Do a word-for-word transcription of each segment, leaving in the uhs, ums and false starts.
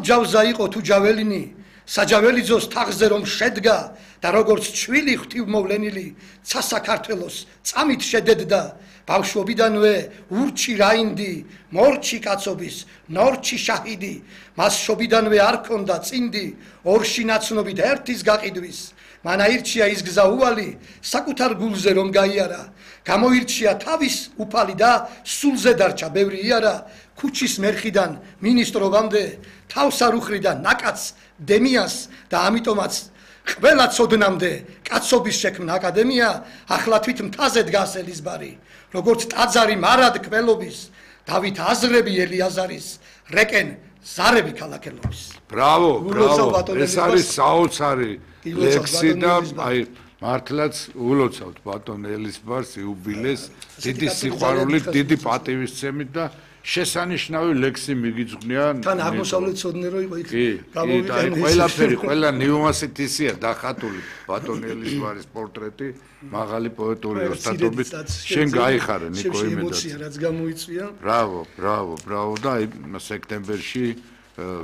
ჯავზა იყო თუ ჯაველინი საჯაველიძოს თაღზე რომ შედგა და როგორც ჩვილი ღვთივმოვლენილი ცა საქართველოს წამით შედედდა ბავშვობიდანვე ურჩი რაინდი მორჩი კაცობის ნორჩი შაჰიდი მას შობიდანვე არ ქონდა წინდი ორში ნაცნობით ერთის გაყიდვის მან აირჩია ის გზა უვალი საკუთარ გულზე რომ გაიარა გამოირჩია თავის უფალი და სულზე დარჩა ბევრი იარა ქუჩის მერხიდან მინისტრობამდე თავს არ უხრიდა ნაკაც დემიას და ამიტომაც ყველა ცოდნამდე კაცობის შექმნა აკადემია ახლა თვით მთაზე დგას ელიზბარი როგორც ტაძარი მარად კველობის დავით აზრები ელიაზარის რეკენ ზარები ქალაქელობის ბრავო ბრავო ეს არის საოცარი ლექსი და აი მართლაც ულოცავთ ბატონ ელიზბარს იუბილეს დიდი სიყვარულით დიდი პატივისცემით და შესანიშნავი ლექსი მიგიძღვნია თან აღმოსავლეთ ცოდნე რო იყო იქ გამოვიყენეს ყველაფერი ყველა ნიუანსით ისია დახატული ბატონ ელიზბარის პორტრეტი მაღალი პოეტური ოსტატობით შენ გაიხარე ნიკო იმედად ემოცია რაც გამოიწვია ბრავო ბრავო ბრავო და სექტემბერში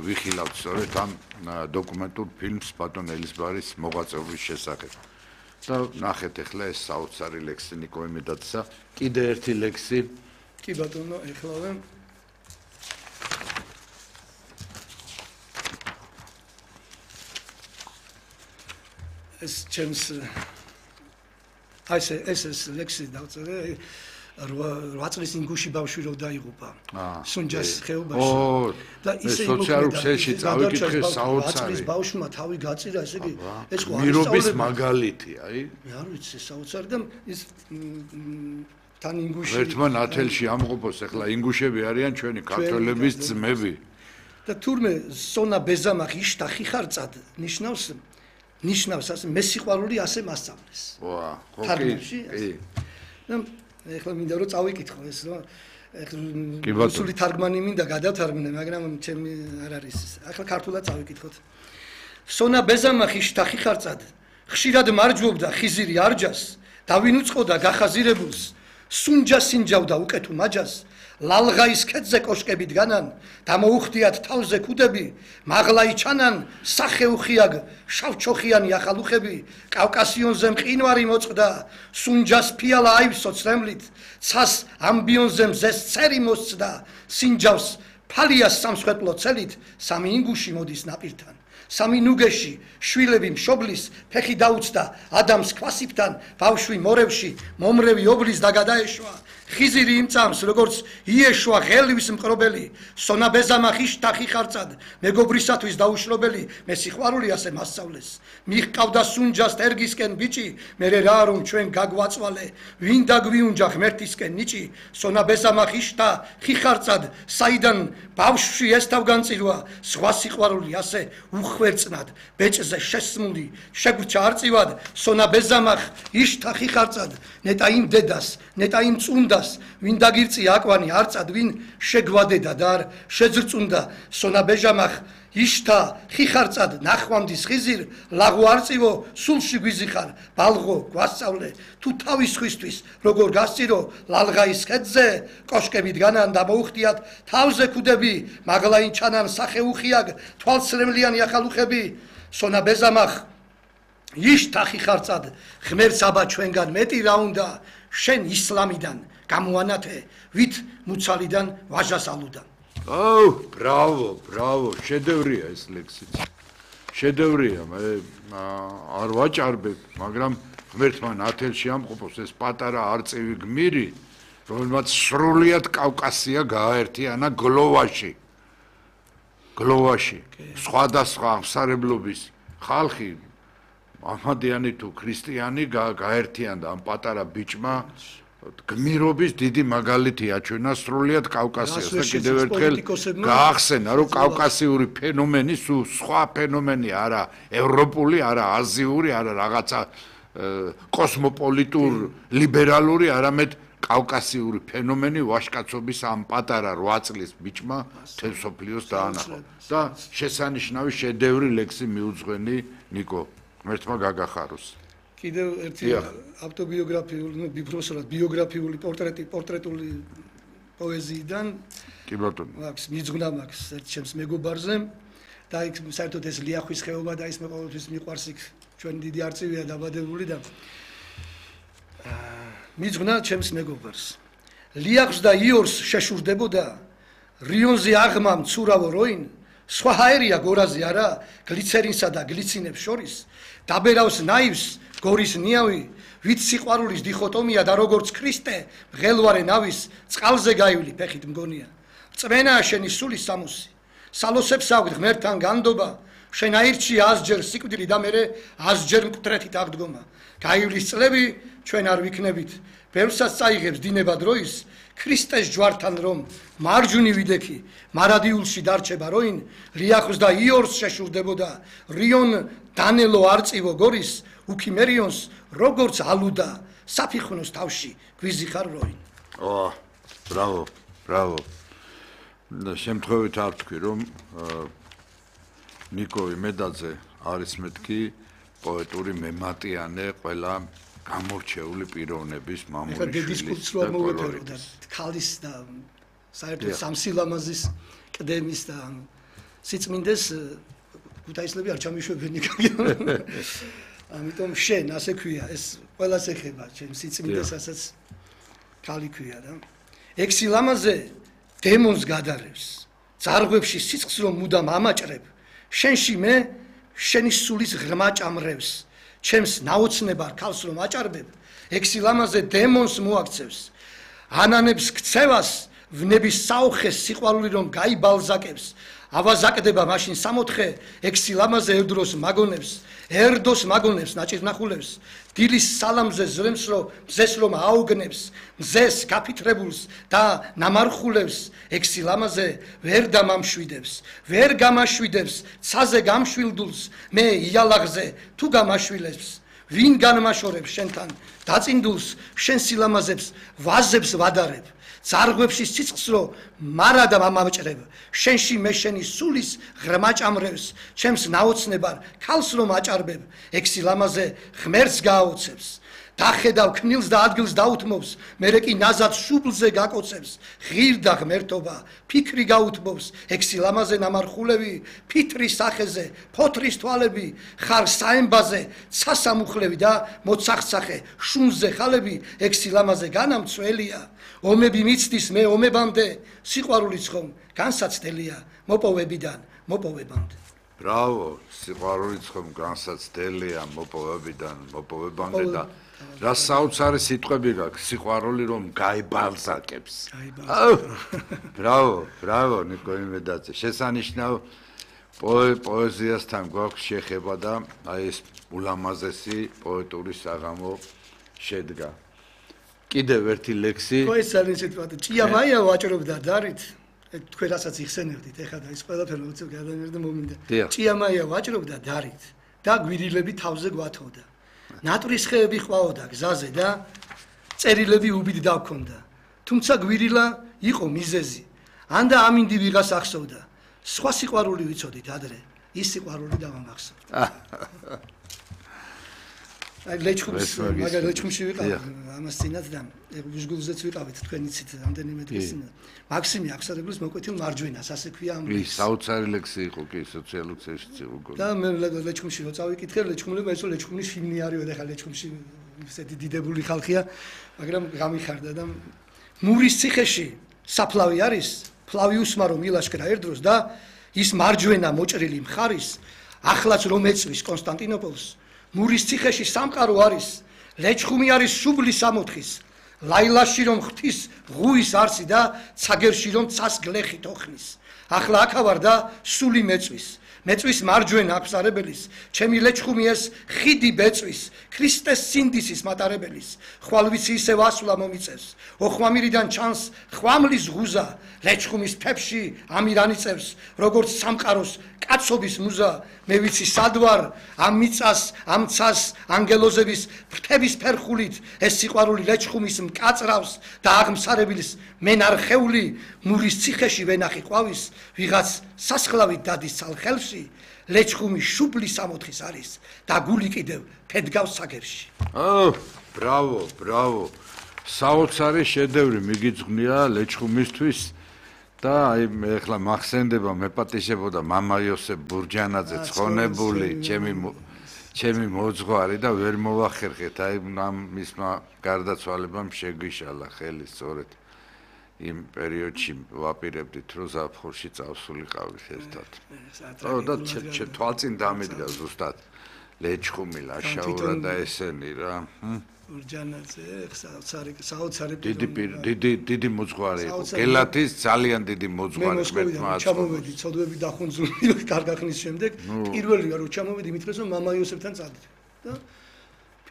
ვიხილავთ სწორედ ამ დოკუმენტურ ფილმს ბატონ ელიზბარის მოღვაწეობის შესახებ და ნახეთ ახლა ეს საოცარი ლექსი ნიკო იმედადსა კიდე ერთი ლექსი კი ბატონო ეხლავე ეს ჩემს აი ეს ეს ლექსი დავწერე რვა წლის ინგუში ბავშვი რო დაიღუპა სუნჯას ხეობაში და ისე სოციალურ ქსელში წავიკითხე საოცარი წლის ბავშვმა თავი გაწირა ესე იგი ეს ხო მირობის მაგალითი აი მე არ ვიცი საოცარი და ის თან ინგუში ერთმა ნათელში ამყოფოს ახლა ინგუშები არიან ჩვენი ქართველების ძმები და თურმე სონა ბეზამახი იშტა ხიხარწად ნიშნავს ნიშნავს ასე მე სიყვარული ასე მასწავლეს ვა ხო კი და ეხლა მინდა რომ წავიკითხო ეს რომ ეხლა რუსული თარგმანი მინდა გადავთარგმნე მაგრამ ჩემი არ არის ახლა ქართულად წავიკითხოთ სონა ბეზამახი იშტა ხიხარწად ხშირად მარჯვობდა ხიზირი არჯას და ვინ უწყოდა გახაზირებულს სუნჯა სინჯავდა უკეთუ მაჯას ლალღაის ქედზე კოშკები დგანან დამოუხდიათ თავზე ქუდები მაღლაი ჩანან სახეუხიაგ შავჩოხიანი ახალუხები კავკასიონზე მყინვარი მოწყდა სუნჯას ფიალა აივსო ცრემლით ცას ამბიონზე მზეს ცერი მოსწდა სინჯავს ფალიას სამსხვერპლო ცელით სამი ინგუში მოდის ნაპირთან სამი ნუგეში შვილები მშობლის ფეხი დაუწდა ადამს ქვასიფთან ბავშვი მორევში მომრევი ობლის და გადაეშვა ხიზირი იმწამს როგორც იეშვა ღელვის მყრობელი სონა ბეზამახი შტა ხიხარწად მეგობრისათვის დაუშრობელი მე სიყვარული ასე მასწავლეს მიხყავდა სუნჯას თერგისკენ ბიჭი მერე რა რომ ჩვენ გაგვაწვალე ვინ დაგვიუნჯა ღმერთისკენ ნიჭი სონა ბეზამახი შტა ხიხარწად საიდან ბავშვი ესთავგანწირვა სხვა სიყვარული ასე უხვერწნად ბეჭზე შესმული შეგვჭა არწივად სონა ბეზამახ იშტა ხიხარწად ნეტა იმ დედას ნეტა იმ წუნდა ვინ დაგირწია აკვანი არწად ვინ შეგვადედა და არ შეძრწუნდა სონა ბეჟამახ იშთა ხიხარწად ნახვამდის ხიზირ ლაღო არწივო სულში გვიზიხარ ბალღო გვასწავლე თუ თავის ხვისთვის როგორ გასწირო ლალღაის ქედზე კოშკები დგანან და მოუხდიათ თავზე ქუდები მაღლაინ ჩანან სახეუხიაგ თვალსრემლიანი ახალუხები სონა ბეზამახ იშთა ხიხარწად ღმერთს აბა ჩვენგან მეტი რა უნდა შენ ისლამიდან გამოანათე ვით მუცალიდან ვაჟას ალუდან აუ ბრავო ბრავო შედევრია ეს ლექსიც შედევრია მე არ ვაჭარბებ მაგრამ ღმერთმა ნათელში ამყოფოს ეს პატარა არწივი გმირი რომელმაც სრულიად კავკასია გააერთიანა გლოვაში გლოვაში სხვადასხვა ამსარებლობის ხალხი ამადიანი თუ ქრისტიანი გაერთიანდა ამ პატარა ბიჭმა გმირობის დიდი მაგალითი აჩვენა სრულიად კავკასიას და კიდევ ერთხელ გაახსენა რომ კავკასიური ფენომენი სულ სხვა ფენომენი არა ევროპული არა აზიური არა რაღაცა კოსმოპოლიტურ ლიბერალური არამედ კავკასიური ფენომენი ვაჟკაცობის ამ პატარა რვა წლის ბიჭმა თელ სოფლიოს დაანახა და შესანიშნავი შედევრი ლექსი მიუძღვენი ნიკო ღმერთმა გაგახაროს კიდევ ერთი ავტობიოგრაფიული, ну, ბიფროსურად ბიოგრაფიული პორტრეტი, პორტრეტული პოეზიიდან. კი ბატონო. აქვს მიძღვნა მაქვს ერთ ჩემს მეგობარზე. და იქ საერთოდ ეს ლიახვის ხეობა და ის მე ყოველთვის მიყვარს იქ ჩვენი დიდი არწივია დაბადებული და მიძღვნა ჩემს მეგობარს ლიახს და იორს შეშურდებოდა რიონზე აღმა მცურავო როინ სხვა ჰაერია გორაზე არა გლიცერინსა და გლიცინებს შორის დაბერავს ნაივს გორის ნიავი ვით სიყვარულის დიხოტომია და როგორც ქრისტე მღელვარე ნავის წყალზე გაივლი ფეხით მგონია წვენაა შენი სულის სამოსი სალოსებს აქვთ ღმერთთან განდობა შენ აირჩი ასჯერ სიკვდილი და მერე ასჯერ მკვდრეთით აღდგომა გაივლის წლები ჩვენ არ ვიქნებით ბევრსაც წაიღებს დინება დროის ქრისტეს ჯვართან რომ მარჯვნივ ვიდექი მარადიულში დარჩება როინ ლიახს და იორს შეშურდებოდა რიონ დანელო არწივო გორის უქიმერიონს როგორც ალუდა საფიხვნოს თავში გვიზიხარ როინ ო ბრავო ბრავო და შემთხვევით არ თქვი რომ ნიკო იმედაძე არის მეთქი პოეტური მემატიანე ყველა გამორჩეული პიროვნების მამული დისკურსს რო მოვეფერო და ქალის და საერთოდ სამსილამაზის კდემის და სიწმინდეს გუთაისლები არ ჩამიშვებენ ნიკო ამიტომ შენ ასე ქვია ეს ყველას ეხება ჩემ სიწმინდესაც ქალი ქვია და ექსილამაზე დემონს გადარევს ძარღვებში სიცხს რომ მუდამ ამაჭრებ შენში მე შენი სულის ღრმა ჭამრევს ჩემს ნაოცნებარ ქალს რომ აჭარბებ ექსილამაზე დემონს მოაქცევს ანანებს ქცევას ვნების საუხეს სიყვარული რომ გაიბალზაკებს ავაზაკდება მაშინ სამოთხე ექსილამაზე ერდროს მაგონებს ერდოს მაგონებს ნაჭირნახულებს დილის სალამზე ზრემს რომ მზეს რომ აუგნებს მზეს გაფითრებულს და ნამარხულებს ექსილამაზე ვერ დამამშვიდებს ვერ გამაშვიდებს ცაზე გამშვილდულს მე იალაღზე თუ გამაშვილებს ვინ განმაშორებს შენთან დაწინდულს შენ სილამაზებს ვაზებს ვადარებ ძარღვებში სიცხს რო მარადა მამაჭრებ შენში მე შენი სულის ღრმა ჭამრევს ჩემს ნაოცნებარ ქალს რომ აჭარბებ ექსილამაზე ღმერთს გააოცებს დახედავ ქნილს და ადგილს დაუთმობს მერე კი ნაზად შუბლზე გაკოცებს ღირდა ღმერთობა ფიქრი გაუთმობს ექსილამაზე ნამარხულები ფიტრის სახეზე ფოთრის თვალები ხარ საემბაზე ცასამუხლები და მოცახცახე შუნზე ხალები ექსილამაზე განამცველია ომები მიცდის მე ომებამდე სიყვარულიც ხომ განსაცდელია მოპოვებიდან მოპოვებამდე ბრავო სიყვარულიც ხომ განსაცდელია მოპოვებიდან მოპოვებამდე და რა საოცარი სიტყვები გაქვს სიყვარული რომ გაიბალზაკებს ბრავო ბრავო ნიკო იმედაძე შესანიშნავ პოეზიასთან გვაქვს შეხება და აი ეს ულამაზესი პოეტური საღამო შედგა კიდევ ერთი ლექსი ხო ეს არის სიტყვადი ჭიამაია ვაჭრობდა დარით თქვენ რასაც იხსენებდით ეხლა და ის ყველაფერი უცებ გადანერდა მომინდა ჭიამაია ვაჭრობდა დარით და გვირილები თავზე გვათოვდა ნატრის ხეები ყვაოდა გზაზე და წერილები უბით დავქონდა თუმცა გვირილა იყო მიზეზი ან და ამინდი ვიღას ახსოვდა სხვა სიყვარული ვიცოდით ადრე ის სიყვარული დავამახსოვრდა აი ლეჩხუმს მაგალითად ლეჩხუმში ვიყავ ამას წინათ და ბუჟგულზეც ვიყავით თქვენ იცით რამდენიმე დღეს წინ მაქსიმი აღსარებლის მოკვეთილ მარჯვენას ასე ქვია ამ ის საოცარი ლექსი იყო კი სოციალურ ქსელში იყო და მე ლეჩხუმში რო წავიკითხე ლეჩხუმლებმა ესო ლეჩხუმის ფილმი არისო და ხა ლეჩხუმში ისეთი დიდებული ხალხია მაგრამ გამიხარდა და მურის ციხეში საფლავი არის ფლავიუსმა რომ ილაშქრა ერდროს და ის მარჯვენა მოჭრილი მხარის ახლაც რომ ეწვის კონსტანტინოპოლს მურის ციხეში სამყარო არის ლეჩხუმი არის შუბლის სამოთხის ლაილაში რომ ღვთის ღუის არსი და ცაგერში რომ ცას გლეხი თოხნის ახლა აქავარ და სული მეწვის მეწვის მარჯვენა აფსარებელის ჩემი ლეჩხუმი ეს ხიდი ბეწვის ქრისტეს სინდისის მატარებელის ხვალვიცი ისევ ასვლა მომიწევს ოხვამირიდან ჩანს ხვამლის ღუზა ლეჩხუმის ფებში ამირანიწევს როგორც სამყაროს კაცობის მუზა მე ვიცი სადვარ ამ მიწას ამ ცას ანგელოზების ფრთების ფერხულით ეს სიყვარული ლეჩხუმის მკაწრავს და აღმსარებლის მენარხეული მურის ციხეში ვენახი ყვავის ვიღაც სასხლავით დადის ცალხელში ლეჩხუმი შუბლის სამოთხის არის და გული კიდევ ფედგავს საგერში ო ბრავო ბრავო საოცარი შედევრი მიგიძღნია ლეჩხუმისთვის და აი მე ახლა მახსენდება მეპატიშებოდა მამა იოსებ ბურჯანაძე ცხონებული ჩემი ჩემი მოძღვარი და ვერ მოვახერხეთ აი ამ მისმა გარდაცვალებამ შეგვიშალა ხელი სწორედ იმ პერიოდში ვაპირებდით რომ ზაფხულში წავსულიყავით ერთად. ო და თვალწინ დამიდგა ზუსტად ლეჩხუმი ლაშაურა და ესენი რა. ბურჯანაძე საოცარი საოცარი დიდი დიდი დიდი მოძღვარი იყო. გელათის ძალიან დიდი მოძღვარი მერტმა აწ. ჩამოვედი ცოდვები დახუნძული კარგა ხნის შემდეგ პირველი რომ ჩამოვედი მითხრეს რომ მამა იოსებთან წადით და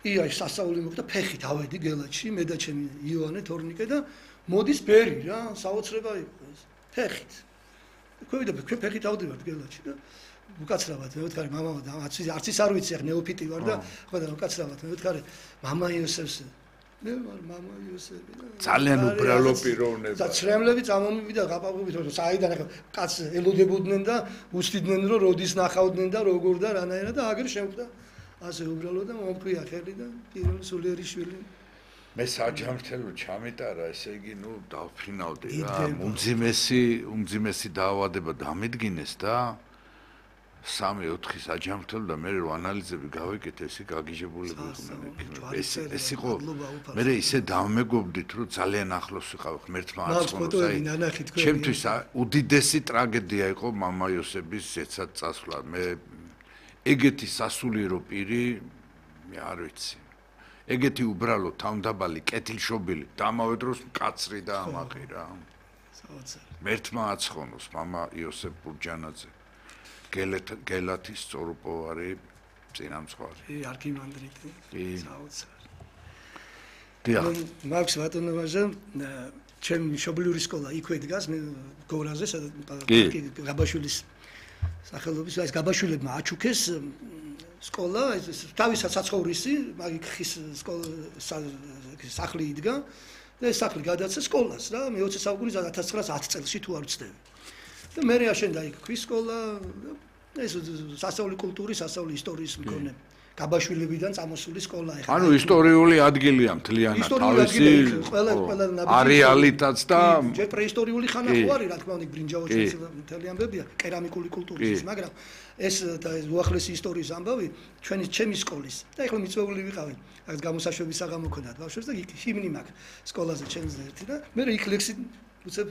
პია სასაული მოხდა ფეხით ავედი გელათში მე და ჩემი იოანე თორნიკე და მოდის ბერი რა საოცრება იყო ეს ფეხით ქვევიდა ფეხით ავდივართ გელათში და უკაცრავად მე ვთქარი მამა არც არც ის არ ვიცი ახ ნეოფიტი ვარ და ხო და უკაცრავად მე ვთქარი მამა იოსებს მე ვარ მამა იოსები და ძალიან უბრალო პიროვნება და ცრემლები წამომივიდა გაპაყობით რომ საიდან ახ კაც ელოდებოდნენ და უსტიდნენ რომ როდის ნახავდნენ და როგორ და რანაირად და აგერ შევხვდა ასე უბრალო და მომქვია ხელი და პირველი სულიერი შვილი მე საჯამრთელო ჩამიტარა, ესე იგი, ნუ დავფრინავდი რა. უმძიმესი, უმძიმესი დაავადება დამედგინეს და სამი ოთხი საჯამრთელო და მე რო ანალიზები გავეკეთე, ესე გაგიჟებულები იყვნენ. ეს ეს იყო მე ისე დამეგობდით, რომ ძალიან ახლოს ვიყავ ღმერთმა აწყნოს. აი, ჩემთვის უდიდესი ტრაგედია იყო მამა იოსების ზეცად წასვლა. მე ეგეთი სასულიერო პირი მე არ ვიცი. ეგეთი უბრალო თავდაბალი კეთილშობილი დამავე დროს მკაცრი და ამაყი რა. საოცარი. მერთმა აცხონოს მამა იოსებ ბურჯანაძე. გელათის სწორუპოვარი წინამძღვარი. კი, არქიმანდრიტი. საოცარი. დიახ. მაქვს ბატონოვაჟე, ჩემი მშობლიური სკოლა იქვე დგას, მე გორაზე, სადაც გაბაშვილის სახელობის, ეს გაბაშვილებმა აჩუქეს სკოლა, ეს თავისაც საცხოვრისი, მაგ ხის სკოლა სახლი იდგა და ეს სახლი გადაცა სკოლას რა, მე ოცი საუკუნის ათას ცხრაასი წელში თუ არ ვცდები. და მე აშენდა იქ ქვის სკოლა, ეს სასწავლი კულტურის, სასწავლი ისტორიის მქონე გაბაშვილებიდან წამოსული სკოლა ეხლა. ანუ ისტორიული ადგილია მთლიანად, თავისი ყველა ყველა არეალითაც და ჯერ პრეისტორიული ხანა ხო არის, რა თქმა უნდა, ბრინჯაოს მთელი ამბებია, კერამიკული კულტურის, მაგრამ ეს და ეს უახლესი ისტორიის ამბავი ჩვენი ჩემი სკოლის და ეხლა მიწვეული ვიყავი, აქ გამოსაშვების საღამო ქონდათ ბავშვებს და იქ ჰიმნი მაქვს სკოლაზე ჩემს ერთი და მე იქ ლექსი უცებ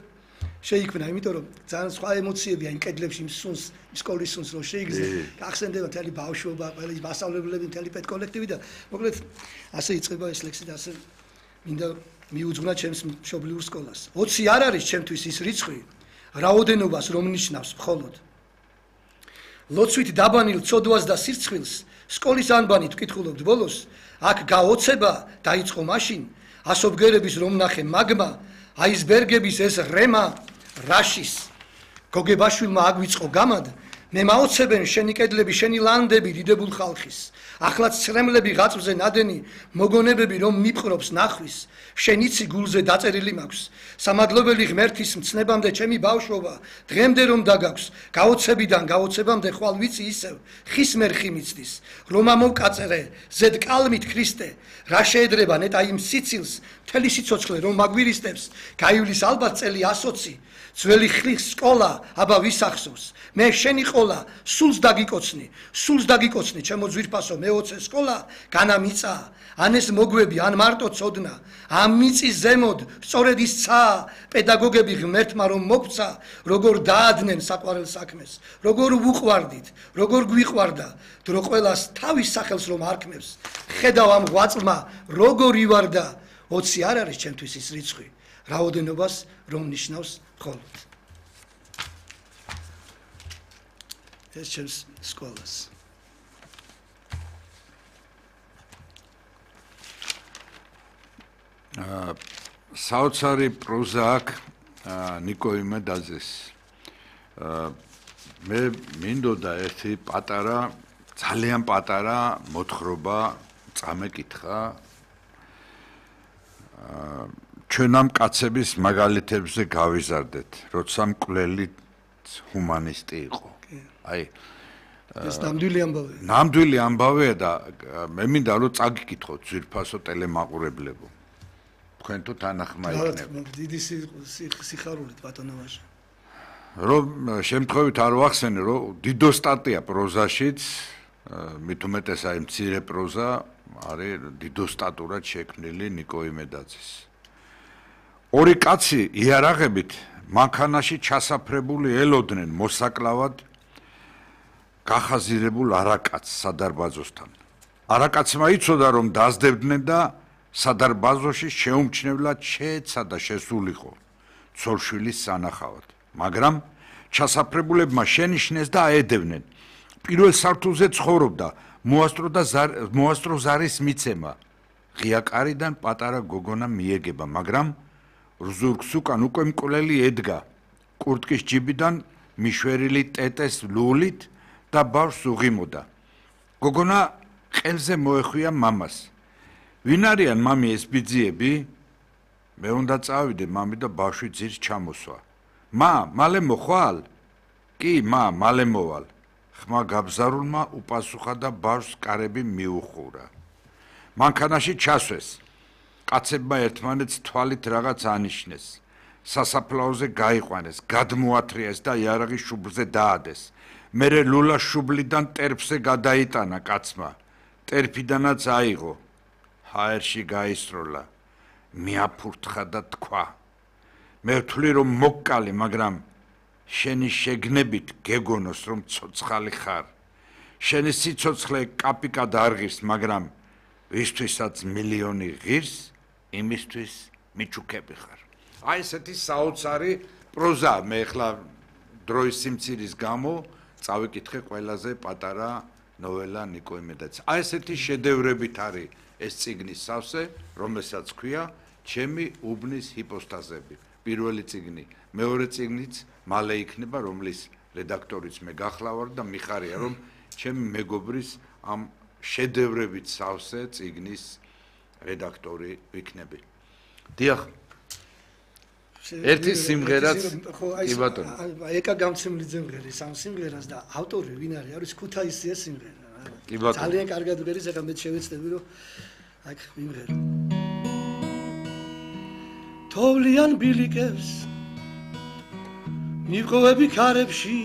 შეიქმნა, იმიტომ რომ ძალიან სხვა ემოციებია იმ კედლებში იმ სუნს, სკოლის სუნს რო შეიგრძნო. გახსენდება მთელი ბავშვობა, ყველი მასწავლებლები, მთელი პედკოლექტივი და მოკლედ ასე იწყება ეს ლექსი და ასე მინდა მიუძღვნა ჩემს მშობლიურ სკოლას. ოცი არ არის ჩემთვის ის რიცხვი, რაოდენობას რომ ნიშნავს მხოლოდ. ლოცვით დაბანილ ცოდვას და სირცხვილს სკოლის ანბანით ვკითხულობთ ბოლოს, აქ გაოცება დაიწყო მაშინ, ასობგერების რომ ნახე მაგმა აისბერგების ეს რემა რაშის გოგებაშვილმა აგვიწყო გამად მე მაოცებენ შენი კედლები შენი ლანდები დიდებულ ხალხის ახლაც ცრემლები ღაწვზე ნადენი მოგონებები რომ მიფხრობს ნახვის შენიცი გულზე დაწერილი მაქვს სამადლობელი ღმერთის მცნებამდე ჩემი ბავშვობა დღემდე რომ დაგაქვს გაოცებიდან გაოცებამდე ხვალ ვიცი ისევ ხის მერხი მიცდის რომ ამოვკაწერე ზედ კალმით ქრისტე რა შეედრება ნეტა იმ სიცილს მთელი სიცოცხლე რომ მაგვირისტებს გაივლის ალბათ წელი ასოცი ძველი ხლის სკოლა აბა ვისახსოვს მე შენი ყოლა სულს დაგიკოცნი სულს დაგიკოცნი ჩემო ძვირფასო მეოცე სკოლა განა მიწა ან ეს მოგვები ან მარტო წოდნა ამ მიწის ზემოდ სწორედ ის ცა პედაგოგები ღმერთმა რომ მოგცა როგორ დაადნენ საყვარელ საქმეს როგორ ვუყვარდით როგორ გვიყვარდა დრო ყველას თავის სახელს რომ არქმევს ხედავ ამ ღვაწლმა როგორ ივარდა ოცი არ არის ჩემთვის ის რიცხვი რაოდენობას რომ ნიშნავს მხოლოდ ეს ჩემს სკოლას აა საოცარი პროზა აქვს ნიკო იმედაძეს აა მე მინდოდა ერთი პატარა ძალიან პატარა მოთხრობა წამეკითხა აა ჩვენ ამ კაცების მაგალითებზე გავიზარდეთ, როცა მკვლელი ჰუმანისტი იყო. აი ეს ნამდვილი ამბავია. ნამდვილი ამბავია და მე მინდა რომ წაგიკითხოთ ძვირფასო ტელემაყურებლებო. თქვენ თუ თანახმა იქნება. დიდი სიხარულით ბატონოვაჟე. რომ შემთხვევით არ ვახსენე, რომ დიდო სტატია პროზაშიც, მით უმეტეს აი მცირე პროზა არის დიდო სტატურად შექმნილი ნიკო იმედაძის. ორი კაცი იარაღებით მანქანაში ჩასაფრებული ელოდნენ მოსაკლავად გახაზირებულ არაკაცს სადარბაზოსთან. არაკაცმა იცოდა, რომ დაძდებდნენ და სადარბაზოში შეუმჩნევლად შეეცა და შესულიყო ცოლშვილის სანახავად. მაგრამ ჩასაფრებულებმა შენიშნეს და აედევნენ. პირველ სართულზე ცხოვრობდა მოასტრო და მოასტრო ზარის მიცემა. ღია კარიდან პატარა გოგონა მიეგება, მაგრამ რზურგს უკან უკვე მკვლელი ედგა. კურტკის ჯიბიდან მიშვერილი ტეტეს ლულით და ბავშვს უღიმოდა. გოგონა ყელზე მოეხვია მამას. ვინ არიან მამი ეს ბიძიები? მე უნდა წავიდე მამი და ბავშვი ძირს ჩამოსვა. მა, მალე მოხვალ? კი, მა, მალე მოვალ. ხმა გაბზარულმა უპასუხა და ბავშვს კარები მიუხურა. მანქანაში ჩასვეს. კაცებმა ერთმანეთს თვალით რაღაც ანიშნეს. სასაფლაოზე გაიყვანეს, გადმოათრიეს და იარაღის შუბლზე დაადეს. მერე ლულა შუბლიდან ტერფზე გადაიტანა კაცმა. ტერფიდანაც აიღო. ჰაერში გაისროლა. მიაფურთხა და თქვა. მე ვთვლი რომ მოკკალი, მაგრამ შენი შეგნებით გეგონოს რომ ცოცხალი ხარ. შენი სიცოცხლე კაპიკად არ ღირს, მაგრამ ვისთვისაც მილიონი ღირს, იმისთვის მიჩუქები ხარ. აი ესეთი საოცარი პროზა. მე ახლა დროის სიმცირის გამო წავიკითხე ყველაზე პატარა ნოველა ნიკო იმედაძის. აი ესეთი შედევრებით არის ეს წიგნის სავსე, რომელსაც ქვია ჩემი უბნის ჰიპოსტაზები. პირველი წიგნი, მეორე წიგნიც მალე იქნება, რომლის რედაქტორიც მე გახლავარ და მიხარია, რომ ჩემი მეგობრის ამ შედევრებით სავსე წიგნის რედაქტორი ვიქნები. დიახ. ერთი სიმღერაც კი ბატონო. ეკა გამცემლიძე მღერის ამ სიმღერას და ავტორი ვინ არის? არის ქუთაისია სიმღერა. კი ბატონო. ძალიან კარგად მღერის, ახლა მე შევეცდები რომ აქ ვიმღერო. თოვლიან ბილიკებს მივყოვები ქარებში